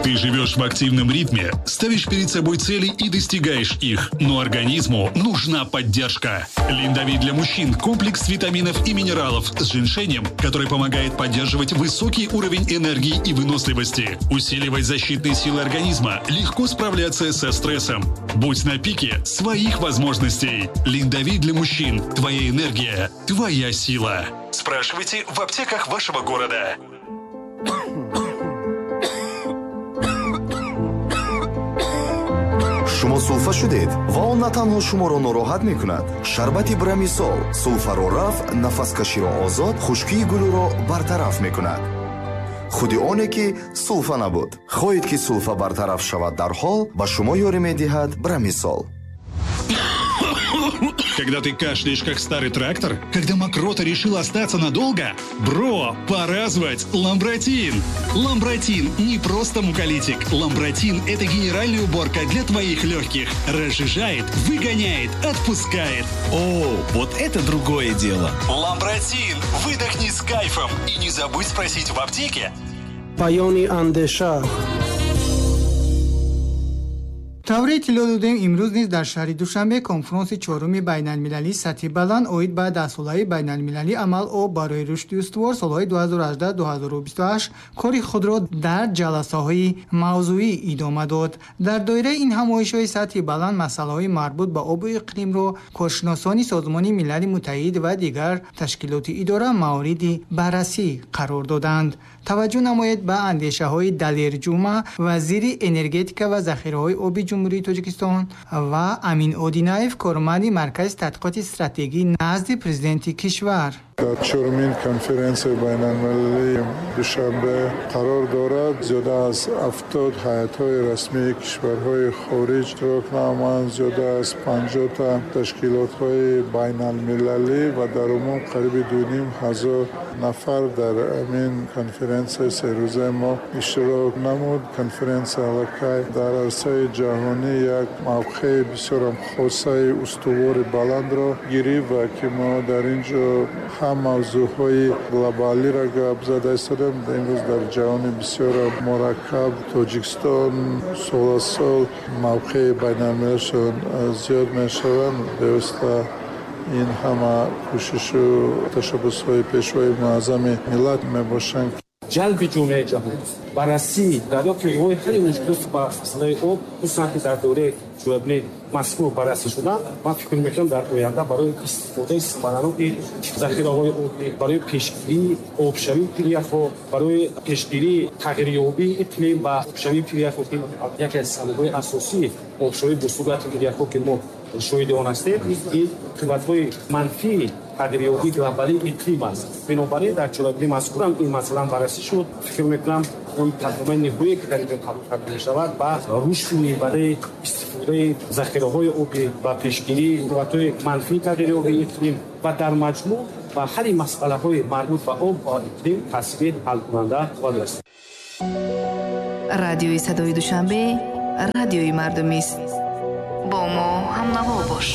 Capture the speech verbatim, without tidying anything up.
Ты живешь в активном ритме, ставишь перед собой цели и достигаешь их. Но организму нужна поддержка. Линдовит для мужчин – комплекс витаминов и минералов с женьшенем, который помогает поддерживать высокий уровень энергии и выносливости, усиливать защитные силы организма, легко справляться со стрессом. Будь на пике своих возможностей. Линдовит для мужчин – твоя энергия, твоя сила. Спрашивайте в аптеках вашего города. Шумо сулфа шудед ва он на танҳо шуморо нороҳат мекунад. Шарбати Брамисол сулфаро рафт, нафаскаширо озод, хушкии гулӯро бартараф мекунад. Худи оне ки сулфа набуд. Хоҳед ки сулфа бартараф шавад дарҳол, ба шумо ёрӣ медиҳад Брамисол. Когда ты кашляешь, как старый трактор? Когда мокрота решила остаться надолго? Бро, пора звать Ламбратин! Ламбратин не просто муколитик. Ламбратин – это генеральная уборка для твоих легких. Разжижает, выгоняет, отпускает. О, вот это другое дело! Ламбратин! Выдохни с кайфом! И не забудь спросить в аптеке. Паёни андеша. Тавре иттилоъ додем, имрӯз низ дар шаҳри Душанбе конфронси чоруми байналмилалии сатҳи баланд оид ба даҳсолаи байналмилалии амал об барои рушди устувор солҳои ду ҳазору ҳаждаҳ ду ҳазору бисту ҳашт кори худро дар ҷаласаҳои мавзӯӣ идома дод. Дар доираи ин ҳамоишҳои сатҳи баланд масъалаҳои марбут ба обу иқлимро коршиносони Созмони Милали Муттаҳид ва дигар ташкилоти идора мавриди баррасӣ қарор доданд. Таваҷҷӯҳ намоед ба андешаҳои Далер Ҷума, вазири энергетика ва захираҳои оби Ҷумҳурии Тоҷикистон ва Амин Одинаев, корманди Маркази тадқиқоти стратегӣ назди президенти кишвар. Дар чорумин конференсияи байналмилалии Душанбе қарор дорад. Зиёда аз ҳафтод ҳайатҳои расмии кишварҳои хориҷ иштирок намоянд, зиёда аз панҷоҳта ташкилотҳои байналмилалӣ ва дар умум қариби ду ним ҳазор нафар дар ҳамин конференсияи серӯзаи мо иштирок намуд. Конференсия аллакай дар арсаи ҷаҳонӣ як мавқеи бисёрам хосаи устувори баландро гирифт ва ки мо дар ин ҷо ҳам мавзӯъҳои глобалиро гап зада истодем. Имрӯз дар ҷаҳони бисёр мураккаб Тоҷикистон сол аз сол мавқеи байналмилалишон зиёд мешаванд. Бевосита ин ҳама кӯшишу ташаббусҳои пешвои муаззами миллат мебошанд. Ҷалби ҷомеаи ҷаҳон, баррасӣ, дарёфти роҳи ҳалли мушкилот ба масъалаи об, хусусан ки дар доираи ҷоябини мазкур баррасӣ шуданд, ман фикр мекунам дар оянда барои истифодаи самараноки захираҳои обӣ, барои пешгирии обшавии пиряхҳо, барои пешгирии тағйирёбии иқлим ва обшавии пиряхҳо, ки яке аз сабабҳои асосии обшавии босуръати пиряхҳо, ки мо шоҳиди он ҳастем, ин қувватҳои манфии тағйирёбии глобалии иқлим аст. Бинобар ин дар чорабини мазкурам ин масъала баррасӣ шуд. Фикр мекунам он тарҷумаи ниҳоие ки дар ин ҷо қабул карда мешавад ба рушду барои истифодаи захираҳои обӣ ва пешгирии қувватҳои манфии тағйирёбии иқлим ва дар маҷмӯъ ба ҳалли масъалаҳои марбут ба об ва иқлим таъсири ҳалкунанда хоҳад дошт. Радиои садои Душанбе, радиои мардумист. Бо мо ҳамнаво бош.